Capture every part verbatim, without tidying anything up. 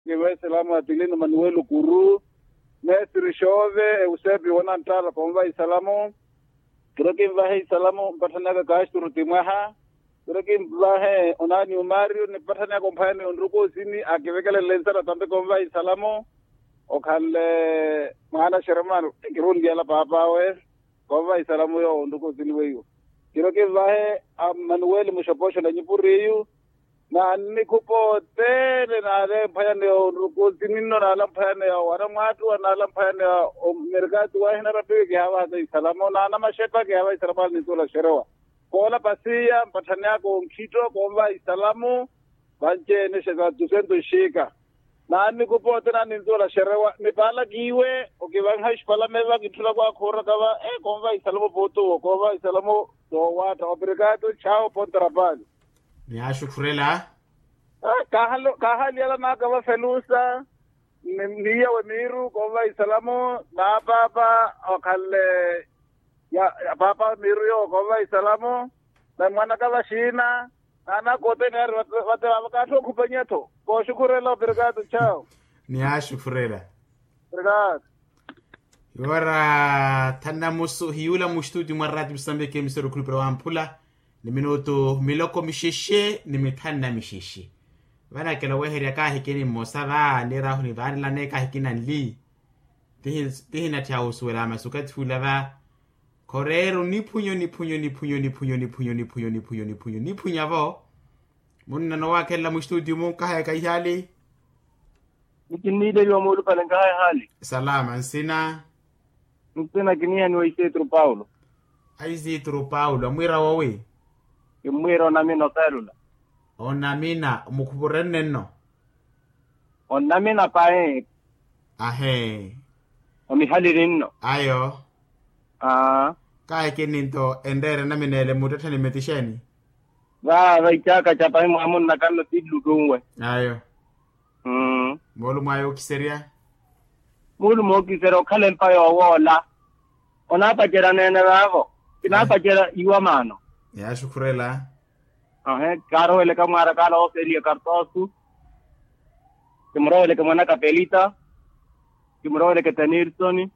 Kinvaha isalamu atilino manuwelo kuru, mestre xove eusepi wonanttala konvaha isalamu. Kiro kinvaha isalamu mpatthani aka kasturu timwaha. Kiro kinvaha onani umario ni mpatthani aka omphwayani onruku osini akivekelenle nsara tampe konvaha isalamu. Okhanle mwana xeremano kirunliyala papawe. Konvaha isalamu yoowo onruku osini weiwo. Kiro kinvahe a manuweli muxopoxo na nyipuriyu. Nannikhupa othene naalemphwayane ya onruku sininno naalamphwayane ya owana mwaattuwa naalamphwayane ya omerkati wahina rapiwe kihaavahaka isalamo naana maxepa kihaavaha isalamo alinitula xerewa. Koola pasiya mpatthani aka onkhitto koonvaha isalamo. Vanci-ene xesa dusento nxiika. Naannikhupa othene anintuula xerewa ni paala kiiwe okivanha exipalame va kintthulaka wakhuuraka va. Koonvaha isalamo pooti owo koonvaha isalamo. Toowaatta obrigado chawo pontarapali. Ni axukhurela. Kaahaliyala naaka va felusa. Ni iyawe miiru koonvaha isalamo. Naapaapa okhanle ya paapa miiru yoowo koonvaha isalamo. Na mwanaka vaxiina. Naanaka othene yaari vate vaava kaatthu okhupanyattho. Kooxukhurela obrigado chawo. Ni axukhurela. Obrigado. Iwara thanu na musu hiyuula muxituti mwa raati musambiki emisero khulupira wamphula. Ni minutu miloko mixexe ni mithanu na mixexe. Vanakela oweherya kaahikini mmosa va niiraahu nivaanelane kaahikina nli. Tihinatthi ahusuwela masi okathi ula va. Khoreero niphunyo niphunyo niphunyo niphunyo niphunyo niphunyo niphunyo niphunyo niphunyo niphunyo vo. Munnano waakhelela muxituti munkahayaka ihaali. Nikinniileliwa moolupale nkahaya haali. Salama nsina. Nsina kiniihaniwa isitru paulo. Aisitru paulo amwiira wowi. Kimmwiira onamina oteelula. Onamina omukhupurenne nno. Onamina pahi. Ahee. Omihaliri nno. Ayo. Aa. Kaahikini nto enreera enamina ele muttettheni mmetixeni. Vaava icaaka ca pahi mwamunnaka nno tillutunwe. Ayo. Mmm. Moolumo ayo okiserya. Muulumo okiserya okhala empa yoowoola. Onaapacerya neene vaavo. Kinaapacerya iwa maano. Yaaxukhurela. Ahe kaaroweleke mwaara kaala ooseliya kartoosu. Kimuroweleke mwanaka pelita. Kimuroweleke tenirsoni.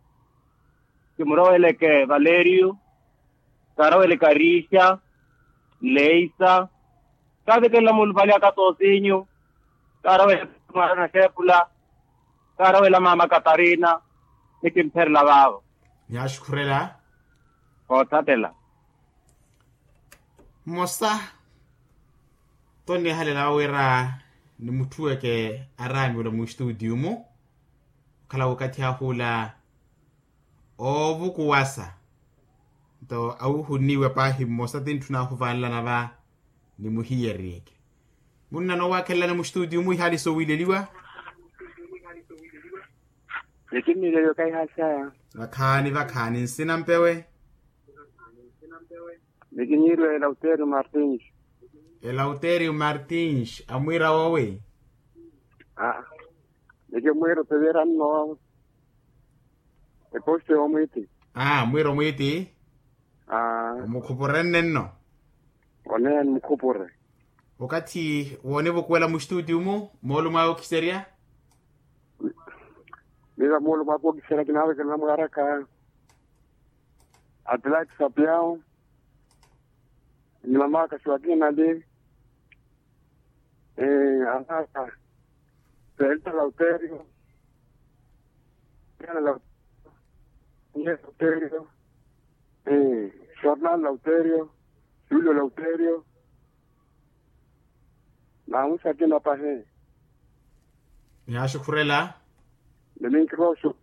Kimuroweleke valerio. Kaaroweleke arixa. Leisa. Kaavekelela muulupale aka toosinyu. Kaaroweleke mwaara naxeepula. Kaarowela maama katarina. Nikimpherela vaavo. Yaaxukhurela. Koothattela. Mmosa. Tonniihalela wira nimutthuweke araamiwela muxituutiyu-mu. Okhala wookathi ahuula oovukuwasa. Nto awuhunniiwe paahi mmosa tintthuna ahuvaanelana va. Nimuhiyeryeke. Munnano waakhelelani muxituutiyu-mu ihaali sowiileliwa. Nikinniileliwa kahihaali saya. Vakhaani vakhaani nsina mpewe. Nikinniileliwa elauterio martins. Elauterio martins amwiira wowi. Aa. Nikimwiira oteveera nno. Eposto yoomwiiti. Aa mwiira omwiiti. Aa. Omukhupurenne nno. Oneya nimukhupure. Okathi woonivukuwela muxituutiyu-mu moolumo awe okiserya. Miira moolumo aka okiserya kinaavekelela mwaaraka. Atlaki sapiao. Ni mamaka xwakinali. Anaka. Pelta lauterio. Pelta lauterio. Jornal lauterio. Julio lauterio. Namusa akina pahi. Yaaxukhurela. Ni minkiroxo.